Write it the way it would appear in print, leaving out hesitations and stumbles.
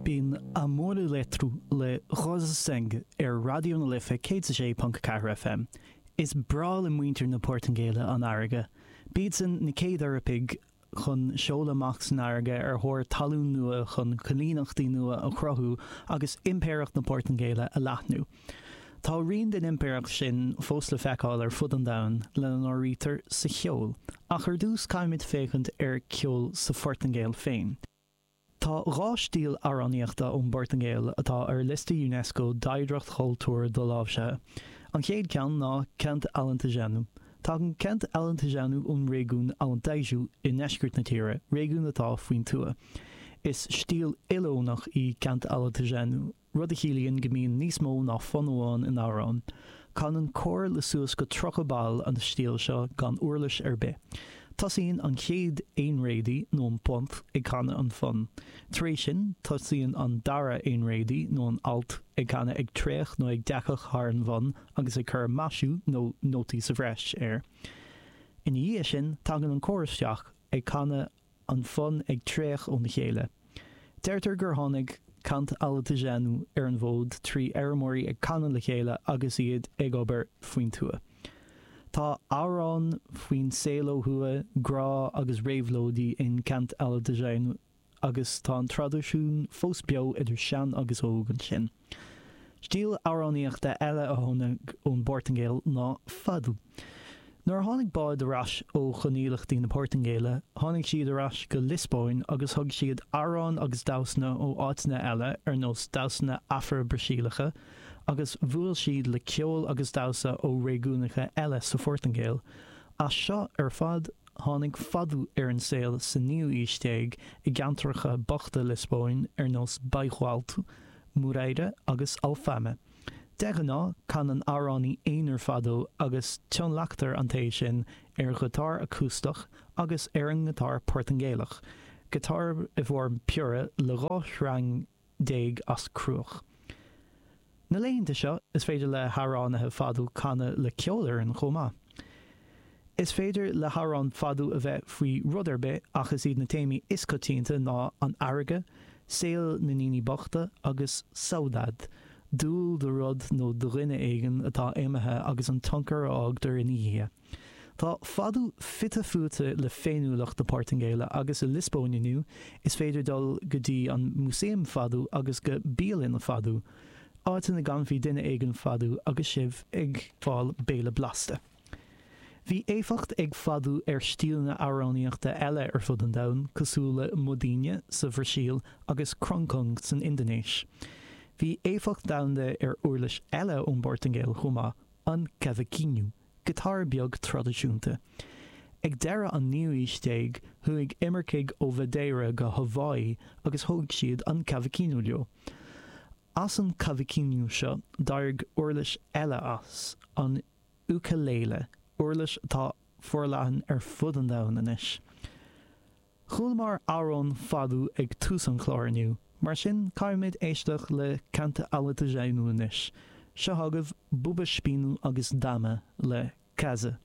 B'in Amor Eletro le Rosa Sangue ar Raidió na Life 106.4 FM. Is breá le muintir na Portaingéile an fharraige. B'iadsan na chéad Eorpaigh chun seoladh amach san fharraige ar thóir talún nua chun coilíneachtaí nua a chruthú agus Impireacht na Portaingéile a leathnú. Tá rian den impireacht sin fós le feiceáil ar fud an domhain, lena n-áirítear sa cheol. Ach ar dtús caithfimid féachaint ar cheol sa Phortaingéil féin. Tá 2 stíl amhránaíochta ón bPortaingéil atá ar liosta Unesco d'oidhreacht chultúir doláimhsithe. An chéad ceann ná Cante Alentejano. Tagann Cante Alentejano ón réigiún Alentejo i ndeisceart na tíre, réigiún atá faoin tuath. Is stíl ilfhonach í Cante Alentejano. rud a chiallaíonn go mbíonn níos mó ná fonn amháin in amhrán. Canann cór le suas go 30 ball an stíl seo gan uirlis ar bith. Tosaíonn an chéad aonréadaí, nó an ponto, ag canadh an fonn. Tar éis sin, tosaíonn an dara aonréadaí, nó an alt, ag canadh ag tréach nó ag deachach thar an bhfonn agus ag cur maisiú, nó nótaí sa bhreis, air. Ina dhiaidh sin, tagann an cór isteach, ag canadh an fonn ag tréach óna chéile. Deirtear gur tháinig Cante Alentejano ar an bhfód trí fheirmeoirí ag canadh le chéile agus iad ag obair faoin tuath. Tá amhráin faoin saol ó thuaidh, grá agus réabhlóidí in Cante Alentejano agus tá an traidisiún fós beo idir sean agus óg ansin. Stíl amhránaíochta eile a tháinig ón bPortaingéil ná fado. Nuair a tháinig báid ar ais ó choilíneachtaí na Portaingéile, tháinig siad ar ais go Liospóin agus thug siad amhráin agus damhsanna ó áiteanna eile ar nós damhsanna Afra-Brasaíleacha agus bhuail siad le ceol agus damhsa ó réigiúnacha eile sa Phortaingéil. As seo ar fad, Tháinig fado ar an saol sa naoú aois déag i gceantracha bochta Liospóin ar nós Bairro Alto, Moreira agus Alfama. De ghnáth, canann amhránaí aonair fado agus tionlactar an té sin ar ghiotár acústach agus ar an ngiotár Portaingéalach, giotár i bhfoirm piorra le 12 shreang as cruach. Na laethanta seo, is féidir le hamhránaithe fado canadh le ceolfhoireann chomh maith. Is féidir le hamhrán fado a bheith faoi rud ar bith ach is iad na téamaí is coitianta ná an fharraige, saol na ndaoine bochta agus saudade, dúil do rud nó do dhuine éigin atá imithe agus an tionchar a fhágtar ina dhiaidh. Tá fado fite fuaite le féiniúlacht na Portaingéile agus i Liospóin inniu is féidir dul go dtí an Músaem Fado agus go bialanna fado, áit ina gcanfaidh duine éigin fado agus sibh ag fáil béile blasta. Bhí éifeacht ag fado ar stíleanna amhránaíochta eile ar fud an domhain, cosúil le modinha sa Bhrasaíl agus kroncong san Indinéis. Bhí éifeacht domhanda ar uirlis eile ón bPortaingéil chomh maith, an cavaquinho. giotár beag traidisiúnta. Ag deireadh an naoú aois déag, chuaigh imircigh ó Mhadeira go Haváí agus thóg siad an cavaquinho leo. As an cavaquinho seo, d'éirigh uirlis eile as, an ukulele, uirlis atá forleathan ar fud an domhain anois. Chualamar amhrán fado ag tús an chláir inniu, mar sin caithfimid éisteacht le Cante Alentejano anois. Seo agaibh Buba Espinho agus Dama le Casa.